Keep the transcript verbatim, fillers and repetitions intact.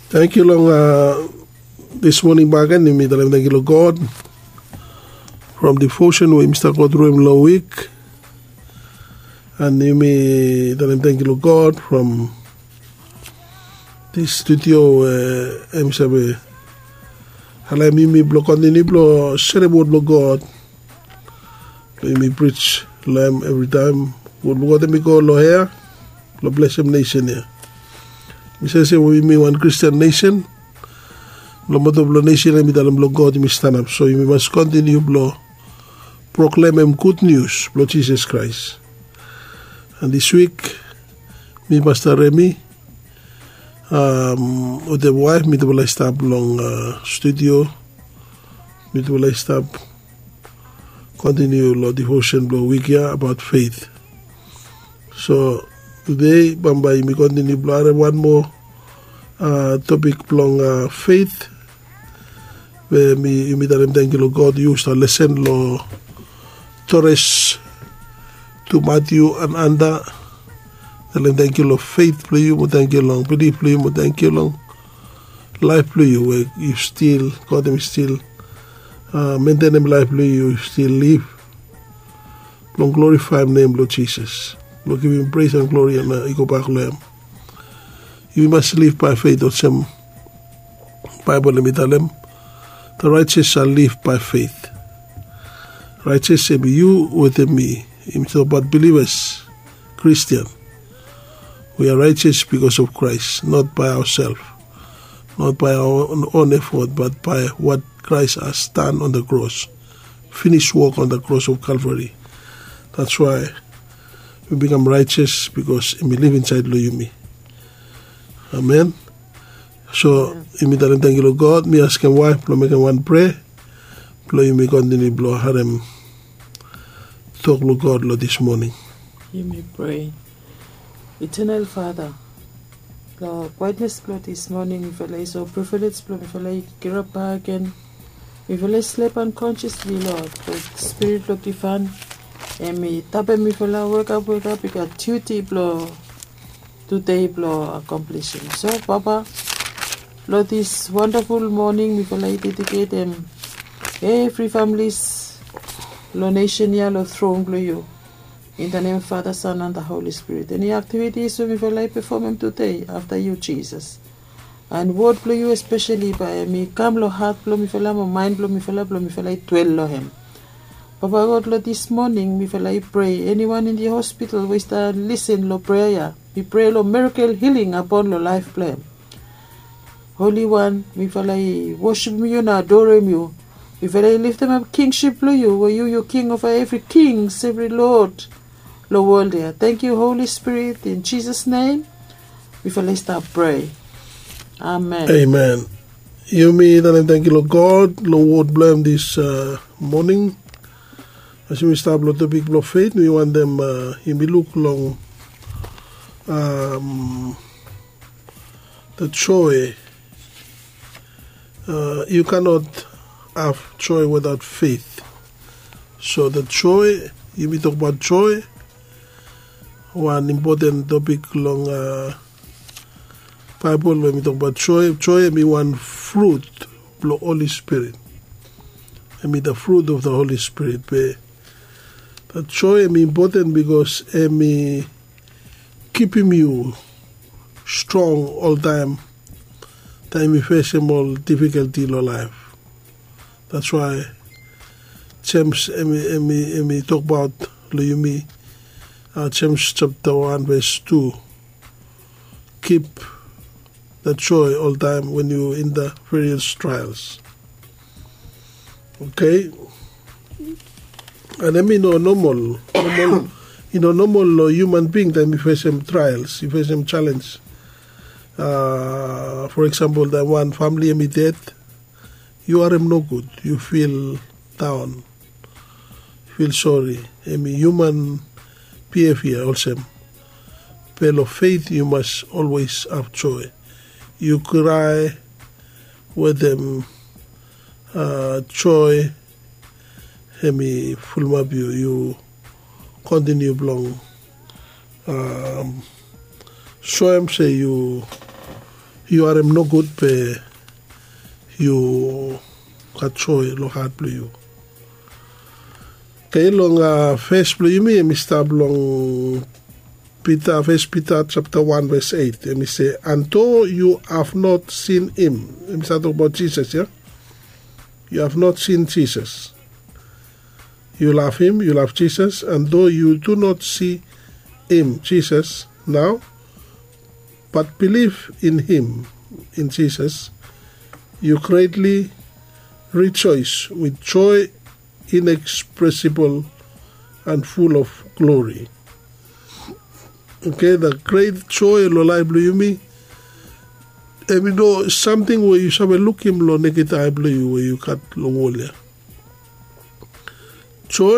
Tangkiu long dis moning bagen, yumi talem tangkiu long God from devotion we yumi stap go tru em long wik. And yumi talem tangkiu long God from dis studio we em save alaem yumi blong kontiniu blong serem wod blong God. Blong yumi prij long em evritaem. Wod blong God em i go long hea blong blesem nesen ya. Mi save se we yumi wan Kristian nesen. Long moto blong nesen ya mi talem blong God yumi stanap, so yumi mas kontiniu blong proklemem gud nius blong Jisas Kraes. And dis wik mi, Pasta Remi, wetem waef mitufala i stap long studio. Mitufala i stap kontiniu long devotion blong wik ya abaot feit. So tude bambae yumi kontiniu blong harem wan moa topik blong feit, we yumi talem tangkiu long God yu stap lesen long Tores tu Matiu and Anda. Talem tangkiu long feit blong yu mo tangkiu long bilif blong yu mo tangkiu long laef blong yu we yu stil, God em i stil mentenem laef blong yu, yu stil lif blong glorifaem nem blong Jisas, blong givim pres and glori and i gobak long em. Yumi mas liv bae feit olsem Baebol em i talem, the righteous shall live by faith. Righteous em i yu wetem mi. Yumi tokbaot bilivas, Kristian. We are righteous because of Christ, not by ourselves, not by our own effort, but by what Christ has done on the cross, finished work on the cross of Calvary. That's why we become righteous, because em i liv insaed long yumi. Amen. So yumi talem tangkiu long God. Mi askem waef blong mekem wan prea blong yumi kontiniu blong harem tok blong God long dis moning. Yumi prea. Eternal Father, long kwaetnes blong dis moning mifala i so privilege blong mifala i kirap bak gen. Mifala i slep unconsciously, Lord, but Spirit blong Divaen em i tapem mifala wekap wekap. I gat duti blong tude blong akomplisim. So Papa, long dis wandaful moning mifala i dediketem evri familis long nesen ya long tron blong yu. In the name of Father, Son and the Holy Spirit. Eni aktivitis we mifala i pefomem tude, afta yu Jisas. And wod blong yu espeseli bae em i kam long hat blong mifala mo maen blong mifala blong mifala i dwel long hem. Papa God, long dis moning mifala i prea, eniwan in the hospital we i stap lisin long prea ya, mi prea long mirakel hiling apon long laef blong hem. Holi Wan, mifala i wosipem yu na adorem yu. Mifala i liftemap kingsip blong yu, we yu yu king ova evri kings, evri lod long wol ya. Tangkiu Holi Spirit, in Jisas nem mifala i stap prea. Amen. Amen. Yumi talem tangkiu long God long wod blong hem dis moning. As yumi stap long topik blong feit, mi wantem yumi luk long the joy. You cannot have joy without faith. So the joy, yumi tokbaot joy, wan impoten topik long Baebol we mi tokbaot joy. Joy em i wan frut blong Holi Spirit. Em i the fruit of the Holy Spirit. Be the joy em i impoten bikos em i kipim yu strong oltaem, taem yu fesem ol difikalti long laef. That's why Jems em i tokbaot long yumi, Jems japta wan ves tu, kip the joy oltaem when you in the various trials. Okay. And em i no nomol, i no nomol long hiuman bing taem i fesem trials, i fesem jalenj. For example, taem wan famili em i ded, yu harem nogud, yu fil daon, fil sori. Em i hiuman bihevia olsem. Be long feit yu mas olwes have joy. Yu krae wetem joy, em i fulumap yu, yu kontiniu blong soem se yu yu harem nogud be yu gat joe long hat blong yu. Oke, long fes blong yumi em i stap long Pita, fes Pita japta wan ves eit, em i se, and though yu have not seen him, em i stap tokbaot Jisas ya. Yu have not seen Jisas. Yu lav him, yu lav Jisas, and though yu do not si him, Jisas, nao, but biliv in him, in Jisas, yu gretli rijoes wit joe inekspresibol and ful of glori. Oke, da gret joe long laef blong yumi, em i no samting we yu save lukim long neked ae blong yu we yu gat long wol ya. Joe